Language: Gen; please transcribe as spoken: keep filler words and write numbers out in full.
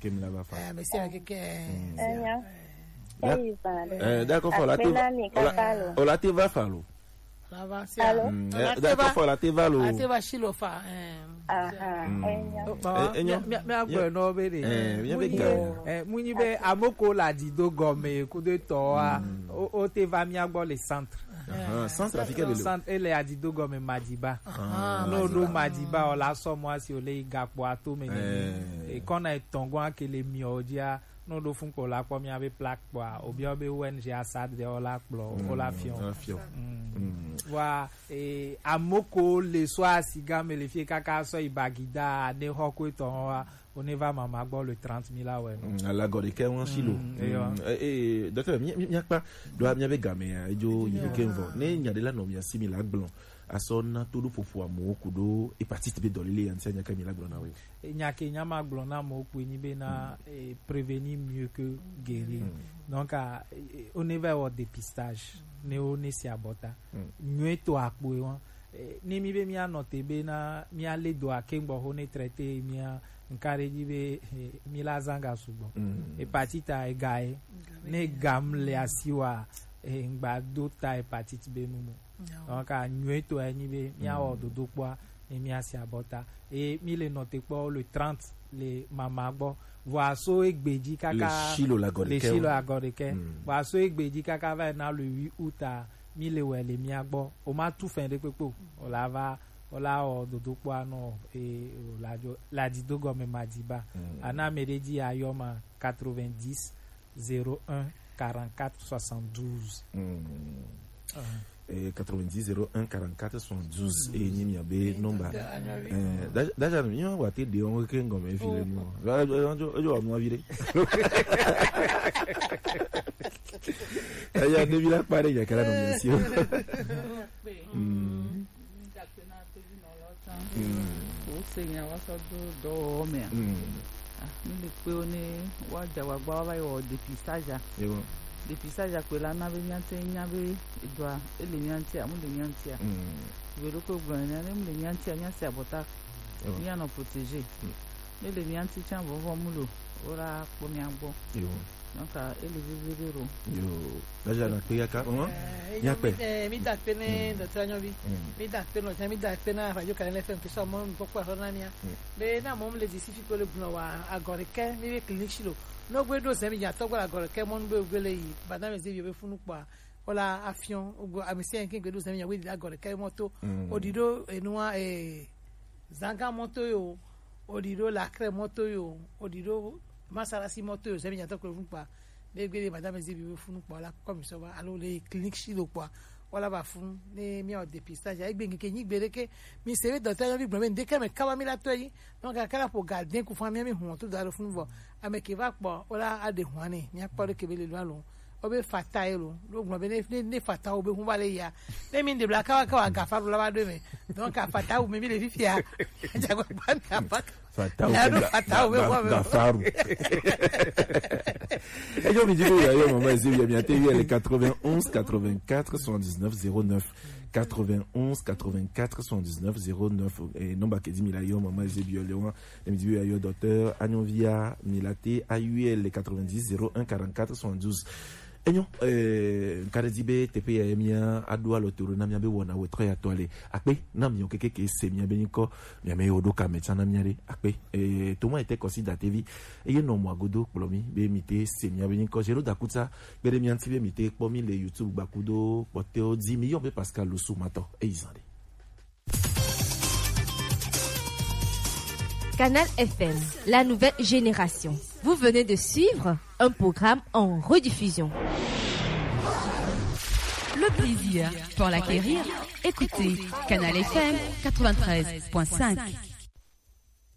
Kemi la va fa. Eh, mais c'est avec, euh, Enya. Da- Eyi va. Eh, d'accord, fo la te va. Akpena mi kaka lo. O la te va fa lo. La va, c'est Allô? Mm, eh, d'accord, fo la te va lo. La te va si lo fa. Eh. Aha, Mm. Enya. Oh, bah, Eh, Enya. Mi, mi, mi a gbɔ nɔ be de. Eh, mi a be Munyi ga. Be, eh, munyi be amoko la di do gɔme kudo tɔ wa. Mm. O, o te va mi a gbɔ le centre. Aha, centre africain de lo. Centre, ele a di do gɔme Madiba. Ah, No do Madiba. Madiba, o la sɔ mo asi o le yi gakpo ato me ne. Eh. E kɔna etɔn gɔn akele mi o dia. No do fun kpɔ la kpɔ mi a be plaque kpɔ a. Obi o be O N G Assad de o la kpɔ, o la Mm, fiɔ. o la fiɔ. Mm. Mm. Wa, eh, amoko le so asi game le fie kaka sɔ yi Bagida ne xɔ ko etɔn wa. O ne va mama gbɔ le trente mille awɛ. Mm, ala gɔde kɛ wan si lo. Mm, eyo. Mm, eh, eh, docteur, mi, mi, mi akpa, do mi a be game ya, ejo yi ke vɔ. Ne nya de la no mi asi mi la gblɔ. Asɔ na to do popo amo kudo hépatite B dɔlele ya ntia nya ka mi la gblɔ na we. E nya ke nya ma gblɔ na mo ku ni be na, Mm. eh, prévenir mieux que guérir. Mm. Donc, ah, eh, o ne va au dépistage, ne o ne si abɔta. Mm. Nyuie to akpo e wan. Eh, ni mi be mi a nɔ te be na mi a le do ake gbɔ ho ne traité mi a nkare di be, eh, mi la zanga sugbɔ. Mm. Hépatite a e ga e. Ne gam le asi wa, eh, ngba do ta hépatite B nu mo. Donc, a nyuie to e ni be mi a wɔ Mm. dodo kpɔ a, ni mi a si abɔta. E mi le nɔ te kpɔ le trente le mama gbɔ. Vɔ aso egbe ji kaka Le silo la gɔde le kɛ silo o. la gɔde kɛ. Mm. Vɔ aso egbe ji kaka va na le huit août a, mi le wɛ le mi a gbɔ. O ma tu fɛn de kpekpe o. O la va, o la wɔ dodo kpɔ a nɔ, e, o la jo, la di do gɔme Madiba. Mm. Ana me de di ayɔ ma quatre-vingt-dix, zéro un, quarante-quatre, soixante-douze. Mm. Ah. Eh, quatre-vingt-dix, zéro un, quarante-quatre, soixante-douze. Mm. E ni mi a be nomba. Eh, da-, daja mi wa te de on ke ngome fi le nu. Wa, wa, wa, wa, mo vire. Aya de bila pare ya kala no mi si. Mm. Mm. O se nya wa sɔ do dɔwɔwɔ mɛ a. Mm. Ah, mi le kpe o ne wa ja wa gba wa va yi wɔ dépistage a. Ewo. Dépistage a kpe la na be mia te nya be edoa, ele mia ŋuti a, mu le mia ŋuti a. Mm. Ve ɖo ko gblɔ ne, ne mu le mia ŋuti a, mia se abɔta. Ewo. Mia nɔ protégé. Mm. Ne le mia ŋuti tsa vɔvɔ mu lo, o la kpɔ mia gbɔ. Ewo. Donc, ah, ele veve ɖe ɖo. Yo, daja na kpe ya ka, hein? Eh, Mia kpe. Eh, mi da kpe ne Mm. docteur Anyobi. Mm. Mi da kpe no, mi da kpe na Radio Kaléna F M ke so mo n gbɔ kpɔ na mia. Mm. Be na mo le di si fi ko le gbɔn wa agɔ ɖe kɛ, mi be clinique si lo. No gbe do zemi ya to gba agɔ ɖe kɛ mo n be gbe le yi, ba na me ze bi be funu kpɔ. O la afiɔn, o go amisi en ke gbe do zemi ya we di agɔ ɖe kɛ mo to. Mm. O di do enua, eh, Zanga mɔto yo, o ɖi ɖo Lakrɛ mɔto yo, o ɖi ɖo Masarasi mɔto yo, zɛmi nyatɔ kple funu kpa. Be gbe ɖe madame Zebi be funu kpa, la kɔ mi sɔ va, alo le clinique si lo kpa, wala va funu, ne mi o dépistage, egbe ŋke nyi gbe ɖe ke, mi se be dɔtɔ yɔ mi gblɔ be ŋɖe ke me kaba mi la tɔ yi, donc akala po gardien ku fa mi mi hun to da ɖo funu vɔ, ame ke va kpɔ, wala a ɖe hun ne, mi akpɔ ɖe ke be le lo alo. Wobe fata ye lo. Ɖo gblɔ be ne, ne, ne fata wo be ŋu va le ya. Ne mi ɖe bla kawa kawa gafaru la va ɖo me. Donc a fata wo me mi le fifia. Dza gba gba mi apa. Fata wo Ya ɖo ga-, fata wo be ga-, ŋu va me. Gafaru. Ejo mi di ko ya yo mama Zebi mi ate yo le quatre-vingt-onze quatre-vingt-quatre soixante-dix-neuf zéro neuf. Quatre-vingt-onze quatre-vingt-quatre soixante-dix-neuf zéro neuf. Et nomba ke di mi la yo mama Zebi yo le wan. Ne mi di be ya yo docteur Anyonvia mi la te ayuie le quatre-vingt-dix zéro un quarante-quatre soixante-douze. Enyo, eh, ŋka ɖe di be teƒe ya ye mía aɖo alɔ to ɖo na mía be wɔna wetɔ ya tɔ le. Akpe na miɔ keke ke se mía be nyikɔ, mía me yo ɖo ka me tsa na mía ɖe. Akpe, eh, to ma ete kɔsi da tevi. Eye nɔ mɔ agodo kplɔ mi be mi te se mía be nyikɔ. Zero da kutsa, kpe ɖe mía ŋuti be mi te kpɔ mi le YouTube gbakudo kpɔtɛwo di. Mi yɔ be Pascal Losu matɔ. Eyi zan ɖe. Canal F M, la nouvelle génération. Vous venez de suivre un programme en rediffusion. Le plaisir pour l'acquérir, écoutez Canal F M quatre-vingt-treize point cinq.